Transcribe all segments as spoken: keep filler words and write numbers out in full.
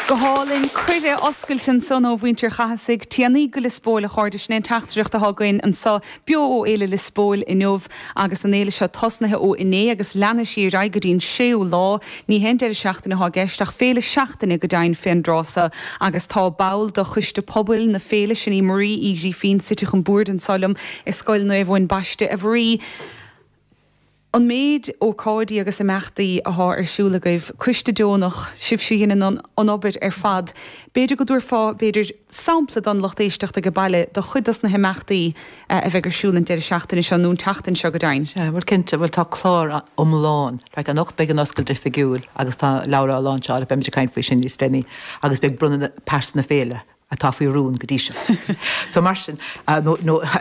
Go hálainn cuireadh oscailte ansan ó mhuintir Chathasaigh téanaí go Liospóil a chairde sin an teachtaireacht atá againn anseo beo ó Fhéile Liospóil inniu agus an fhéile seo tosnaithe ó inné agus leanfaidh sí ar aghaidh go dtí an séú lá ní haon deireadh seachtaine atá i gceist ach féile seachtaine go deimhin fén dtráth seo agus tá ball de choiste pobail na féile sin í Marie Uí Ghrífín suite chun boird anseo liom i Scoil Naomh Eoin Baiste a Mharie. An méid ócáidí agus imeachtaí atá ar siúl agaibh coiste deonach sibhse a dhéanann an obair ar fad. B'fhéidir go dtabharfá b'fhéidir sampla don lucht éisteachta ag baile de chuid dos na himeachtaí a bheidh ar siúl an deireadh seachtaine seo nó an tseachtain seo go deimhin. Sea, bhuel cinnte, bhuel tá clár iomlán, like anocht beidh an oscailt oifigiúil agus tá leabhar á láinseáil beimid ag caint faoi sin níos déanaí agus beidh bronnadh pearsa na féile atá faoi rún go dtí seo. So mar sin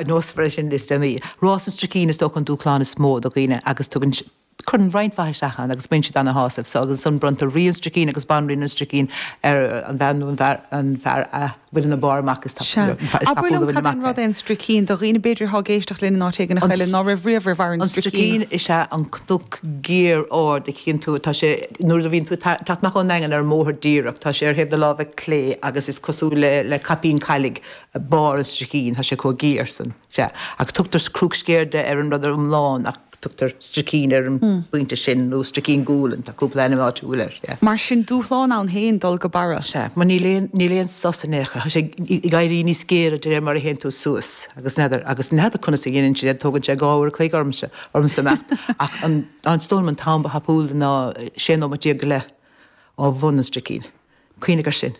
nósfar sin níos déanaí. Rás an Stricín is dócha an dúshlán is mó do dhaoine agus tugann cuireann roinnt mhaith isteach ann agus bíonn siad ana-shásamh so agus ansan bronntar rí an Stricín agus banríon an Stricín ar an bhean nó an fear an fear a bhfuil ina barr amach is Abair liom cad é an rud é an Stricín do dhaoine b'fhéidir atá ag éisteacht linn in áit éigin a cheile ná raibh riamh ar bharr an An Stricín. Stricín is ea an cnoc géar ard a chíonn tú tá sé nuair a bhíonn tú teacht amach ón nDaingean ar an mbóthar díreach tá sé ar thaobh na láimhe clé agus is cosúil le le caipín cailligh barr an Stricín tá sé chomh géar san sea ach tugtar Cruach Sceirde ar an rud ar iomlán ach tugtar Stricín ar an bpointe sin nó Stricín Gualainn tá cúpla ainm áitiúil air yeah. Mar sin dúshlán ann féin dul go barra. Sea, mar níl aon níl aon sos in aon chor, tá sé ag éirí níos géire de réir mar a théann tú suas agus n'fheadar agus n'fheadar conas a dhéanann siad é tógann sé dhá uair a chloig ormsa ormsa imeacht ach an an is dóigh liom an t-am ba thapúla ná sé nóiméad déag go leith ó bhun an Stricín. Cuimhnigh air sin.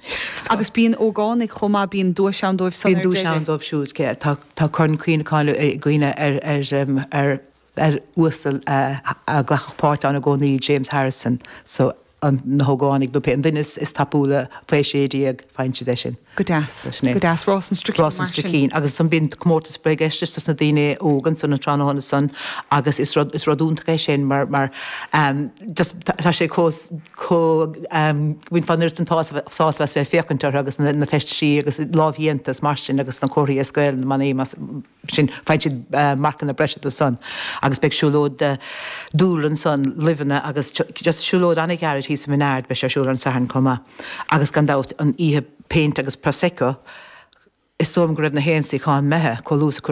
Agus bíonn ógánaigh chomh maith bíonn duais ann dóibh san Bíonn ar duais ann deireadh. dóibh siúd cé tá tá corn cuimhneacháin ag daoine ar ar ar ar uasal a ghlacfadh páirt ann i gcónaí James Harrison so an na hógánaigh nó pé an duine is is tapúla faoi sé déag faigheann siad é sin. Go deas. Sin é. Go deas Rás an Stricín Rás an mar sin. Stricín agus ansan bíonn comórtas bréagfheistis dos na daoine óga ansan an tráthnóna san agus is rud is rud iontach é sin mar mar um, just tá sé chomh chomh um, bhainfeá an oiread sin sásamh sásamh as bheith féachaint orthu agus na, na feistisí agus lámhdhéanta mar sin agus na comharthaí as Gaeilge na manaí mas sin faigheann siad uh, marcanna breise do san agus beidh siúlóid uh, dúlra ansan luibheanna agus just siúlóid an-ghairid thíos i Mín Aird beidh sé ar siúl ar an Satharn chomh maith. Agus gan dabht an oíche péint agus prosecco is dóigh go raibh na haon suíochán imithe chomh luath is a